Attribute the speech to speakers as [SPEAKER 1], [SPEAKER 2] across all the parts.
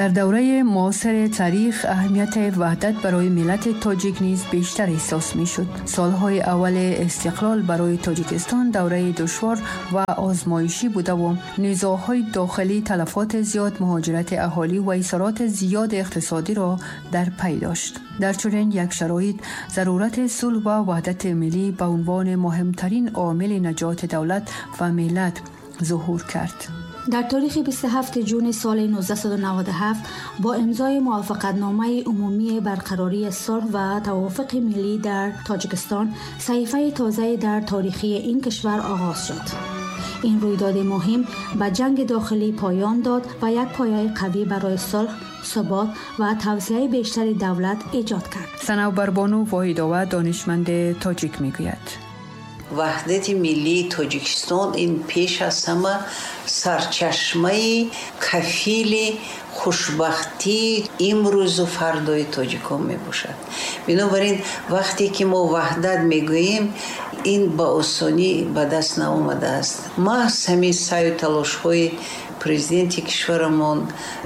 [SPEAKER 1] Дар давраи муосири таърих аҳамияти ваҳдат барои миллати тоҷик низ бештар эҳсос мешуд. Солҳои аввали истиқлол барои Тоҷикистон давраи душвор ва озмоишӣ будаву низоъҳои дохилӣ, талафоти зиёд, муҳоҷирати аҳолӣ ва исороти зиёди иқтисодиро дар пай дошт. Дар чунин як шароит зарурати сулҳ ва ваҳдати миллӣ ба унвони муҳимтарин омили наҷоти давлат ва миллат зуҳур кард.
[SPEAKER 2] Дар таърихи 27 ҷуни соли 1997 бо имзои мувофиқатномаи умумии барқарории сулҳ ва тавофуқи миллӣ дар Тоҷикистон саҳифаи тозае дар таърихи ин кишвар оғоз шуд. Ин рӯйдоди муҳим ба ҷанги дохилӣ поён дод ва як пояи қавӣ барои сулҳ, субот ва тавсеаи бештари давлат эҷод кард.
[SPEAKER 1] Санавбарбону Воҳидова, донишманди тоҷик, мегӯяд:
[SPEAKER 3] Ваҳдати миллии Тоҷикистон ин пеш аз ҳама сарчашмаи кафили хушбахтии имрӯзу фардои тоҷикон мебошад. Бинобар ин, вақте ки мо ваҳдат мегӯем, ин ба осонӣ ба даст наомадааст. Маҳз ҳамин саъю талошҳои президенти кишварамон,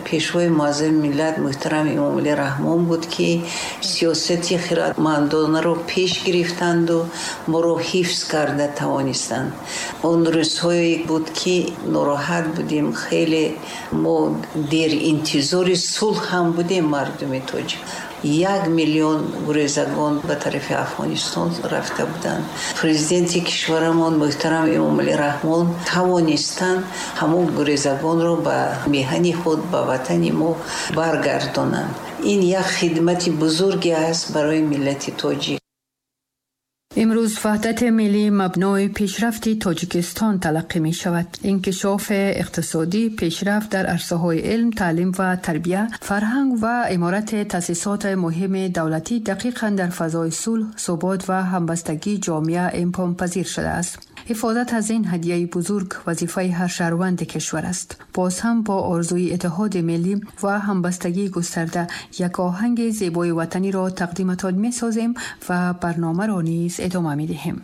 [SPEAKER 3] Пешвои муаззами миллат муҳтарам Эмомалӣ Раҳмон буд, ки сиёсати хиратмандонаро пеш гирифтанду моро ҳифз карда тавонистанд. Он рӯзҳое буд, ки нороҳат будем хеле, мо деринтизори сулҳ ҳам будем. Мардуми тоҷик, 1 миллион гурезагон ба тарафи Афғонистон рафта буданд. Президенти кишварамон муҳтарам Эмомалӣ Раҳмон тавонистанд ҳамон гурезагонро ба меҳани худ, ба ватани мо баргардонанд. Ин як хидмати бузурге аст барои миллати тоҷик.
[SPEAKER 1] Имрӯз ваҳдати миллӣ мабнои пешрафти Тоҷикистон талаққӣ мешавад. Инкишофи иқтисодӣ, пешрафт дар арсаҳои илм, таълим ва тарбия, фарҳанг ва иморати таъсисоти муҳими давлатӣ дақиқан дар фазои сулҳ, субот ва ҳамбастагии ҷомеа имконпазир шудааст. Ҳифозат аз ин ҳадияи бузург вазифаи ҳар шаҳрванди кишвар аст. Боз ҳам бо орзуи иттиҳоди миллӣ ва ҳамбастагии густарда як оҳанги зебои ватаниро тақдиматон месозем ва барномаро низ идома медиҳем.